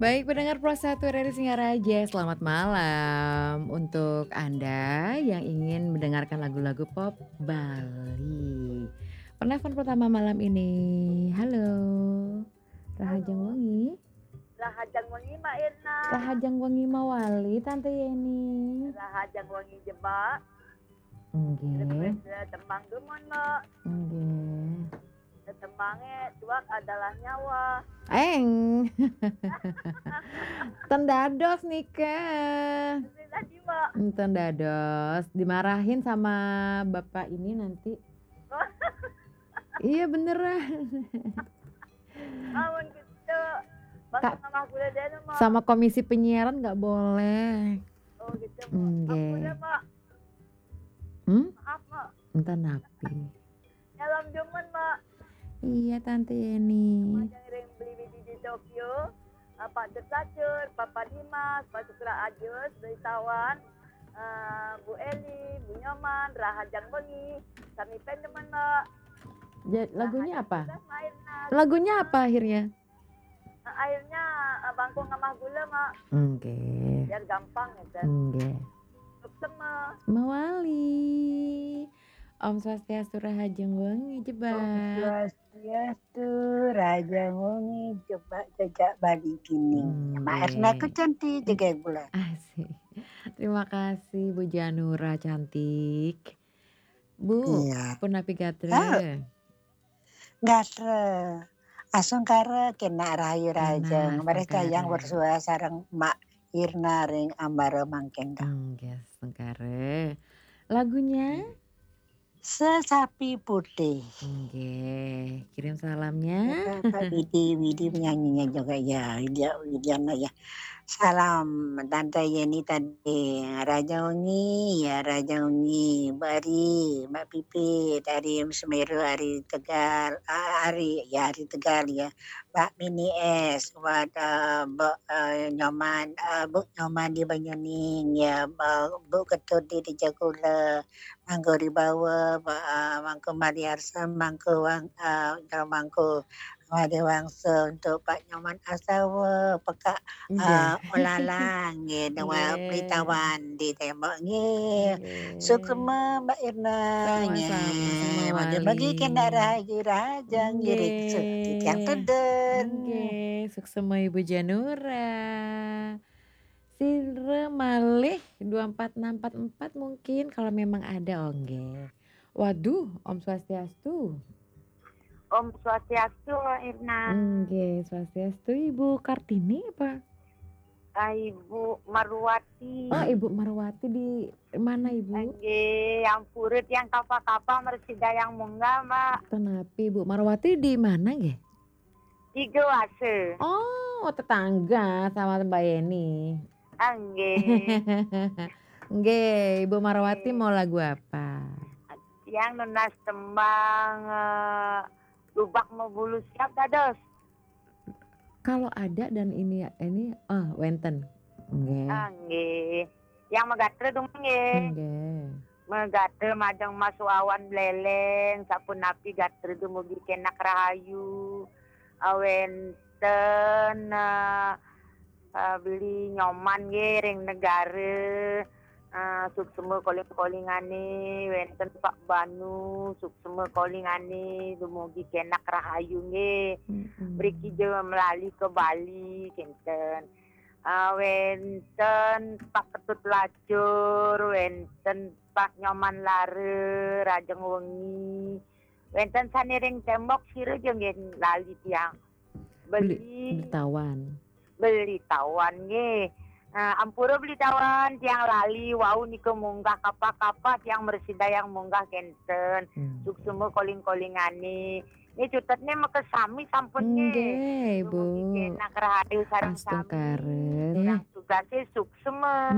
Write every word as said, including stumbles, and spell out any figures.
Baik, pendengar Pro satu R R I Singaraja, selamat malam. Untuk Anda yang ingin mendengarkan lagu-lagu pop Bali. Penelpon pertama malam ini. Halo. Rahajeng wengi. Rahajeng wengi, Mbak Irna. Rahajeng wengi mawali, Tante Yeni. Rahajeng wengi jebak. Nggih. Request tembang dumun, Mbak. Nggih. Tembangnya tuak adalah nyawa. Eng. Ten dados nika. Sudah jiwa. Ten dados. Dimarahin sama bapak ini nanti. Iya, beneran. Amun gitu. Bang, Kak, sama gula deh, Mbak. Sama komisi penyiaran nggak boleh. Oh, gitu, Mbak. Nggih. Ampun, Mbak. Hmm? Maaf, Mbak. Entah napi. Nyalam dumun, Mbak. Iya, Tante Yeni. Sama yang ring beli biji di Tokyo. Pak Dut Lacur, Papa Dimas, Pak Sukra Ajus, Beli Tawan, eh, Bu Eli, Bu Nyoman, Rahajeng wengi, sami pen dumun, Mbak. Ja-, lagunya apa? Rahajeng tugas main, nah. Lagunya apa akhirnya? Eh, akhirnya, eh, bangku ngamah gula, Mbak. Oke. Biar gampang gitu. Oke. Suksema. Mawali. Om Swastiastu, Rahajeng wengi, jebak. Om Swastiastu, Rahajeng wengi, jebak jejak Bali kini. Nggih. Mbak Erna ku cantik, jaga gula. Asik. Terima kasih, Bu Janura cantik. Bu, iya. Punapi gatra? Ah. Gatra. Asung kara kena rahayu rajeng. Nah, mereka yang bersuara sareng Mbak Irna ring Ambara mangkin. Nggih, sengkara. Lagunya? Sesapi Putih. Nggih, kirim salamnya. Ada Pak Widi, Widi penyanyinya juga ya, Widya, Widiana ya. Salam Tante Yeni tadi, Raja Wengi, ya Raja Wengi, Mbak Ri, Mbak Pipi, dari Semeru, Ari Tegal, ah, Ari, ya Ari Tegal ya, Mbak Mini S, buat, eh, Mbak, eh, Nyoman, eh, Bu Nyoman di Banyuning, ya, Mbak, Bu Ketut di Tejagula, Mangku Ribawa, Mbak, eh, Mangku Mariarsa, Mangku Wang, eh, Mangku Wade Wangsa untuk Pak Nyoman Asawa, Pekak, nggih, ah, Olalang, nggih, Dewa, nggih, Pelitawan di Tembok, nggih. Nggih. Suksema Mbak Irna, sama-sama, nggih. Sama bagi-bagi wali. Kena rahayu raja, nggih, nggih, riksa, titiang teden. Nggih, suksema Ibu Janura. Sira malih dua empat enam empat empat mungkin kalau memang ada, oh, nggih. Waduh, Om Swastiastu. Om Swastiastu, Mbak Irna. Nggih, Swastiastu, Ibu Kartini apa? Ah, Ibu Marwati. Oh, Ibu Marwati di mana, Ibu? Nggih, yang purut yang kapa-kapa mresida yang munggah, Mbak. Tenapi, Bu Marwati di mana, nggih? Tiga Wase. Oh, tetangga sama Mbak Yeni. Ah, nggih. Nggih, Ibu Marwati, nggih, mau lagu apa? Yang nunas tembang, eh, Lubak Mebulu Siap dados. Kalau ada dan ini, ini, ah, wenten. Nggih. Ah, nggih. Yang magatra dong, nggih. Nggih. Magatra majeng Mas Wawan Bleleng, sapunapi gatra dumugi kenak rahayu. Ah, wenten, eh, eh, Beli Nyoman nggih ring Negara. Eh, suksema koling-kolingane, wenten Pak Banu, suksema kolingane, dumugi kenak rahayu nggih. Mm-mm. Mriki ja melali ke Bali, kinten. Eh, wenten Pak Ketut Lacur, wenten Pak Nyoman Lara, Rajeng Wengi. Wenten sane ring Tembok, sira ja nggih lali tiang. Beli, Beli, Beli Tawan. Beli Tawan nggih. Eh, ampura Beli Tawan, tiang lali wau nika munggah kapa-kapa, tiang mresida yang munggah kenten. Hmm. Suksema koling-kolingane. Nggih, cutetne makasami sampun nggih. Nggih, Bu. Dumugi kenak rahayu sareng sami. Astungkara. Tiang tugase suksema.